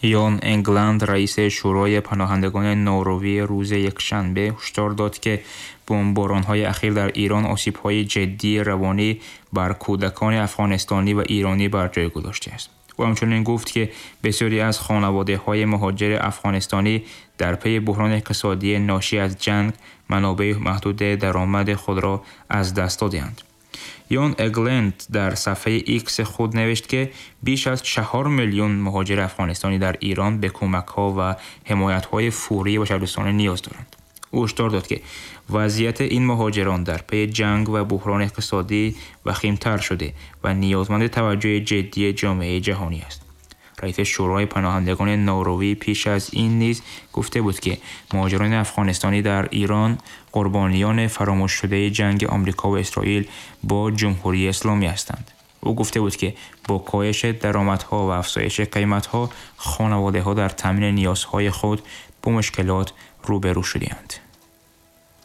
Ян Эгланд, раиси Шӯрои паноҳандагони Норвегӣ, рӯзи якшанбе ҳушдор дод, ки бомборонҳои ахир дар Эрон осебҳои ҷиддии равонӣ бар кӯдакони афғонистонӣ ва эронӣ бар ҷой гузоштааст. Ӯ ҳамчунин гуфт, ки бисёре аз хонаводаҳои муҳоҷири афғонистонӣ дар пайи буҳрони иқтисодии ношӣ аз ҷанг манобеи маҳдуди даромади худро аз даст додаанд. Ян Эгланд дар саҳифаи Икс худ навишт, ки беш аз 4 миллион муҳоҷири афғонистонӣ дар Эрон ба кӯмакҳо ва ҳимоятҳои фаврии башардӯстона ниёз доранд. Ӯ ҳушдор дод, ки вазъияти ин муҳоҷирон дар пайи ҷанг ва буҳрони иқтисодӣ вахимтар шуда ва ниёзманди таваҷҷӯҳи ҷиддии ҷомеаи ҷаҳонӣ аст. Раиси Шӯрои паноҳандагони Норвегӣ пеш аз ин низ гуфта буд, ки муҳоҷирони афғонистонӣ дар Эрон қурбониёни фаромӯшшудаи ҷанги Амрико ва Исроил бо Ҷумҳурии Исломӣ ҳастанд. Ӯ гуфта буд, ки бо коҳиши даромадҳо ва афзоиши қиматҳо хонаводаҳо дар таъмини ниёзҳои худ бо мушкилот рӯбарӯ шудаанд.